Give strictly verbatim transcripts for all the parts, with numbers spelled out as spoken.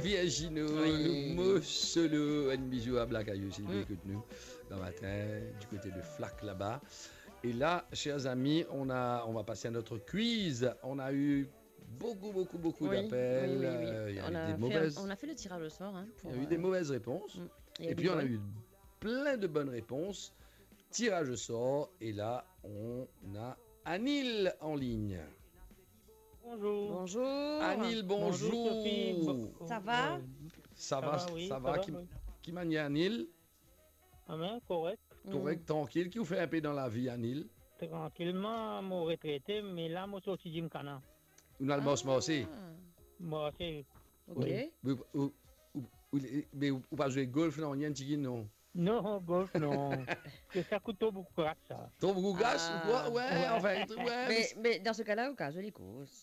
Virginie, oui. Mo Solo, un bisou à Black Ayou, s'il écoute nous dans matin, du côté de Flac là-bas. Et là, chers amis, on a, on va passer à notre quiz. On a eu beaucoup, beaucoup, beaucoup d'appels. Oui, oui, oui. Euh, il y a eu des mauvaises, on a fait le tirage au sort, hein, il y a eu des mauvaises réponses. Et puis, on a eu plein de bonnes réponses. Tirage au sort. Et là, on a Anil en ligne. Bonjour. Bonjour. Anil, bonjour. Bonjour, Sophie. Bo-, ça va ? Euh, ça va, ça va, oui, ça va, ça va, oui. Ki, ki manier, Anil ? Ah ben, korek. Korek, trankil. Ki ou fer inpe dan lavi, Anil ? Trankilman, mo retrete, me la, mo sorti gymkhana. Ou al mars, marse ? Ah. Marse. Ok. Wi. Ou, ou, ou, ou, me ou, ou pa zwe golf, non, nanye, tigit, non ? Non, golf, non. Sa kout tro boukou kas, sa. Tro boukou kas, ou kwa ? Ah. Wi, anfin, wi, me, me dan se ka la, ou ka zwe li kours.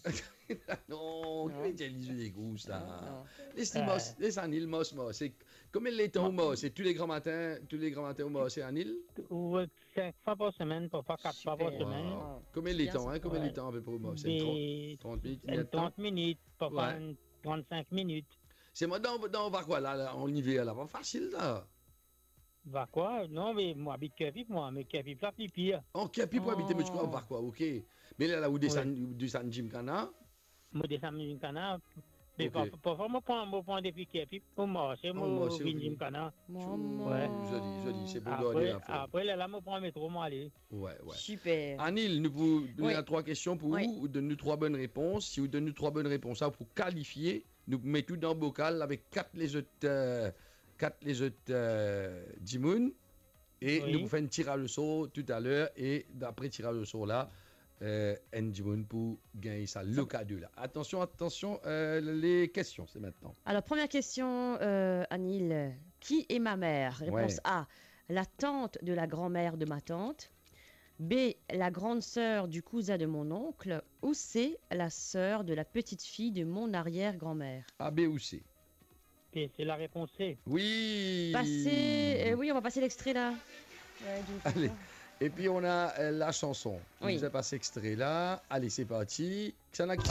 Non, ki vedir li zwe li kours, la ? Non, non. Les li mars, les Anil mars, mars. Se konbien letan ou mars ? Se tou le gran matin, tou le gran matin ou mars, Anil ? Wi, sink fwa par semenn, parfwa kat fwa par semenn. Super. Wow. Konbien letan, hein, konbien letan apepre ou mars ? Enn trant, trant minit, enn trant minit, parfwa enn trannsink minit. Selman dan, dan vakwa la, la, an iver la, pa fasil, la. Vakwa, non, me mo abit Kerpip, mwa, me Kerpip la pli pir. Oh, Kerpip ou abite, me ti krwar vakwa, ok. Me la, la, ou desann, ou desann gymkhana ? Mo desann gymkhana, me parfwa, parfwa mo pran, mo pran depi Kerpip, mo marse, mo vinn gymkhana. Wi. Zoli, zoli, se bon. Apre, apre, lerla mo pran metro, mo ale. Wi, wi. Super. Anil, nou pou, nou ena trwa kestion pou ou, ou donn nou trwa bonn repons. Si ou donn nou trwa bonn repons, sa, ou pou kalifie. Nou met ou dan bokal avek kat lezot, euh, kat lezot, euh, dimoun. E nou pou fer enn tiraz o sor toutaler. E dapre tiraz o sor la, euh, enn dimoun pou gagn sa lo kado la. Atansion, atansion, euh, les questions, c'est maintenant. Alors, première question, euh, Anil. Qui est ma mère ? Réponse A, la tante de la grand-mère de ma tante. B, la grande sœur du cousin de mon oncle. Ou C, la sœur de la petite fille de mon arrière-grand-mère. A, B ou C ? Et c'est la réponse C. Oui. Passez, euh, oui, on va passer l'extrait là. Ouais, d'une fois. Allez. Et puis on a, euh, la chanson. Oui. Nous a passé extrait là. Allez, c'est parti. Kisannla ki